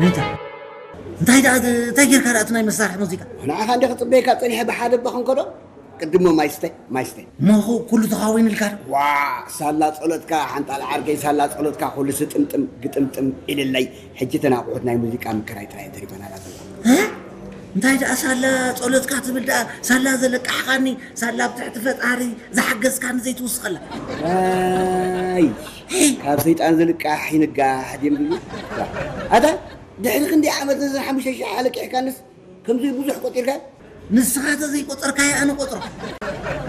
ነይታ እንታይ ደኣ እንታይ ጌርካ ደኣ እቲ ናይ መሳርሒ ሙዚቃ? ንዓኻ እንደ ክጽበየካ ጸኒሐ ብሓደ እባ ክንከዶ። ቅድሞ ማይስተ ማይስተ። እሞ ኩሉ ተኻዊንልካ ዶ? ዋ፣ ሳላ ጸሎትካ ሓንጣል ዓርከይ፣ ሳላ ጸሎትካ ኩሉ ስጥምጥም ግጥምጥም ኢልለይ። ሕጂ ተናቑሑት ናይ ሙዚቃ ምክራይ ጥራይ ተሪፈናላ ዘላ። እ? እንታይ ደኣ ሳላ ጸሎትካ ትብል ደኣ? ሳላ ዘለቃሕካኒ፣ ሳላ ኣብ ትሕቲ ፈጣሪ ዝሓገዝካኒ ዘይትውስኸላ። ኣይ፣ ካብ ሰይጣን ዝልቃሕ ይንጋሕ ድም ድዩ? ኣታ ድሕሪ ክንደይ ዓመት ነዘን ሓሙሽተ ሽሕ ኣለቂሕካንስ ከምዚ ብዙሕ ቆጢርካ? ንስኻ ተዘይቆጸርካዮ ኣነ ቆጽሮ።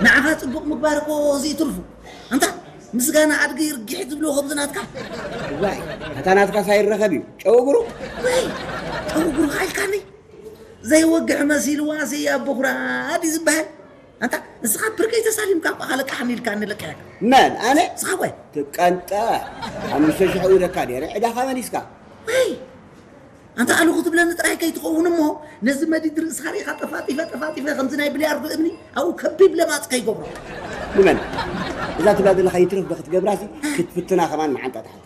ንዓኻ ጽቡቕ ምግባር እኮ እዚ ትርፉ። ኣንታ ምስጋና ኣድጊ ርጊሕ ዝብልዎ ከምዚ ናትካ። ዋይ፣ ኣታ ናትካስ ኣይረኸብ እዩ። ጨው እግሩ? ወይ፣ ጨው እግሩ ኢልካኒ? ዘይወግሕ መሲልዋ ስያ በኹራድ እዩ ዝበሃል። ኣንታ ንስኻ ብርከይ ተሳሊምካ እኳ ከለቃሕኒ ኢልካኒ ለቂሕካ። መን? ኣነ? ንስኻ ወይ? ትቀንጠ። ሓሙሽተ ሽሕ እውደካ ነይረ፣ ዕዳኻ መሊስካ። ወይ፣ ኣንታ ኣሉ ክትብለኒ ጥራይ ከይትኸውን እሞ፣ ነዚ መዲድ ርእስኻ ርኢኻ ጠፋጢፈ፣ ጠፋጢፈ ከምዚ ናይ ብልያርዶ እምኒ ኣብኡ ከቢብ ለማጽ ከይገብሮ። ንመን? እዛ ትብላ ዘለኻ ይትረፍ ዶ ክትገብራሲ፣ ክትፍትና ከማን መዓንጣ ትሓት።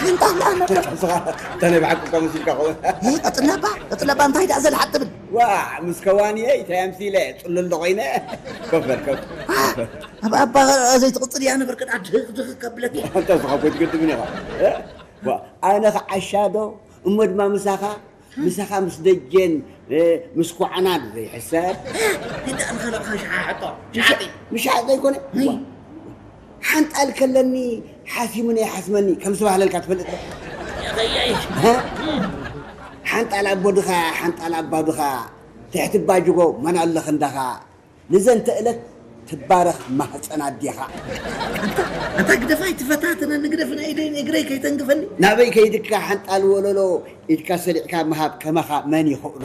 ሓንጣ ኣላ ነበር። ንስኻ እታ ናይ ብሓቂ እኳ መሲልካ ኸውን። እ፣ ቀጽለባ፣ ቀጽለባ እንታይ ደኣ ዘልሓት ትብል? ዋ፣ ምስ ከዋንየ እንታይ ኣምሲለ፣ ጽሉል ዶ ኮይነ? ኮፍ በል፣ ኮፍ። ዋ፣ ኣብ ኣባ ዘይትቕጽል እያ ነበር፣ ቅድኣ ድህኽ ድህኽ ከብለኪ። ኣንታ ንስኻ እኮ ኣይትገድምን ኢኻ። እ? ዋ፣ ኣነ ኸዓ ሻዶ፣ እሞ ድማ ምሳኻ፣ ምሳኻ ምስ ደጀን፣ እ፣ ምስ ኳዕናን ዘይሕሰብ። እ፣ ግዳ ንኸለቕኻ ሸሓሕጦ፣ ሸሓጢ። ምሻጥ ዘይኮነ? እይ። ዋ፣ ሓንጣል ከለኒ ሓሲሙኒ ይሓስመኒ ከም ዝተባህለልካ ትፈልጥ ዶ? የኸየይ። እ? ሓንጣል ኣቦ ድኻ፣ ሓንጣል ኣባ ድኻ፣ ትሕቲ ባጅጎ መን ኣሎ ክንዳኻ፣ ንዘንተ እለት ትባረኽ ማህፀን ኣዴኻ። ኣንታ፣ ኣንታ ግደፋይ ትፈታተነኒ፣ ግደፍ ናይ ኢደይን እግረይ ከይተንግፈኒ። ናበይ ከይድካ ሓንጣል ወለሎ ኢድካ ሰሊዕካ ምሃብ ከማኻ መን ይኽእሎ?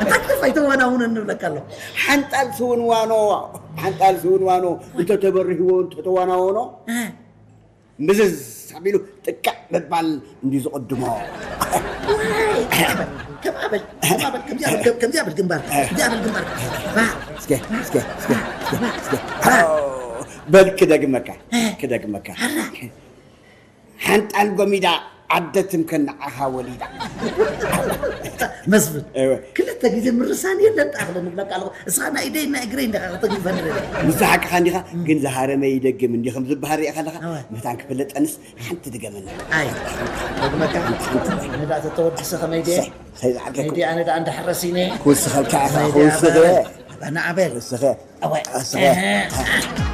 ኣንታ ግደፋይ ተዋናውነ ንብለካ ኣለኹ። ሓንጣል ስውንዋኖ፣ ሓንጣል ስውንዋኖ እንተተበርህዎ እንተተዋናወኖ፣ እ። ምዝዝ ኣቢሉ ጥቅዕ ምባል እንዲ ዝቕድሞ። ዋይ፣ ከም ኣበል፣ ከም ኣበል፣ ከም ኣበል፣ ከምዚኣ በል፣ ከምዚኣ በል ግንባር፣ ከምዚኣ በል ግንባር። ባ፣ እስከ፣ እስከ፣ እስከ፣ እስከ፣ እስከ። ባ። በል ክደግመካ፣ እ። ክደግመካ። ኣላ። ሓንጣል ጎሚዳ ዓደ ትምከን ንዓኻ ወሊዳ። መስፍን፣ እወ። ክልተ ግዜ ምርሳን የለን፣ ጣ ክለ ንብለካ ኣለኹ። እስኻ ናይ ኢደይ ናይ እግረይ እንዲኻ ከተግዝፈኒ ደለ። ንስኻ ሓቅኻ እንዲኻ፣ እም። ግን ዝሃረመ ይደግም እንዲ ከም ዝበሃል ሪኢኻ ኣለኻ። እወ። መታን ክፍለጠንስ ሓንቲ ድገመኒ። ኣይ፣ ደግመካ? ሓንቲ፣ ሓንቲ። ኣነ ደኣ ተተወድሰ ከመይ ድየ? ሰይ፣ ሰይ ዝዓርከኩም። ከመይ ድየ? ኣነ ደኣ እንዳሕረስ ኢነ። ክውስኸልካ ኢኻ፣ ከመይ ድየ? ክውስኸ። ኣበል። ኣነ ኣበል። ክውስኸ። እወ። ክውስኸ። እህ።